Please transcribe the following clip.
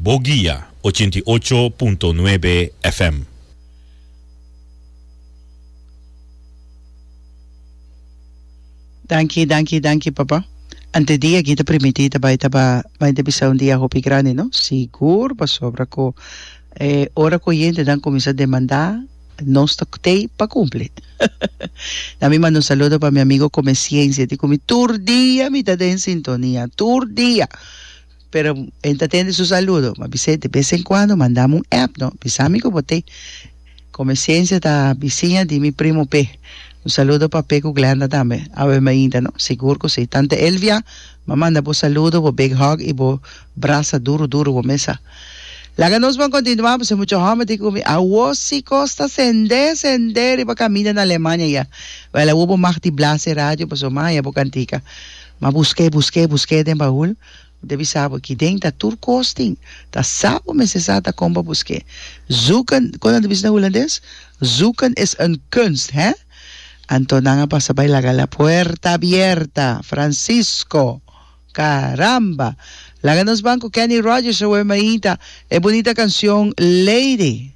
Boguia 88.9 FM. Danki, danki, danki papa. Ante dia aki ta primiti ta bai taba bai ta bisa un dia hopi grandi no. Sigur pasobra ku e ora ku oyentenan kuminsá demandá nos ta tei pa kumpli. Na mi manda un saludo pa mi amigo Comeciencia di ku mi tur dia mi ta den sintonia, tur dia. Pero e ta tende su saludo. Ma bis'é de bes en cuando mandami un app no, bisa mi ku bo tei. Comeciencia ta bisiña di mi primo Pe. Un saludo pa Pe cu Glenda tambe. Awe mainta no? Sigur cu si. Tante Elvia, m'a manda bo saludo, bo big hug y bo brasa duro duro bo mesa. Laga nos ban continua pasobra mucha homber tin cu mi. Awo si cos ta sende sende riba caminda na Alemania ya. Wel awo bo mag di blasa e radio pasobra m'a haya bo cantica. M'a busque busque busque den bahul. Bo ta bisa bo ki den ta tur kos tin. Ta sa bo mester sa ta kon pa busk'é. Zoeken, kon nan ta bisa na hulandes? Zoeken is een kunst, hè? Anto nan a pasa bai laga la puerta abierta. Francisco, Caramba! Laga nos ban ku Kenny Rogers awe mainta e bunita kanshon Lady.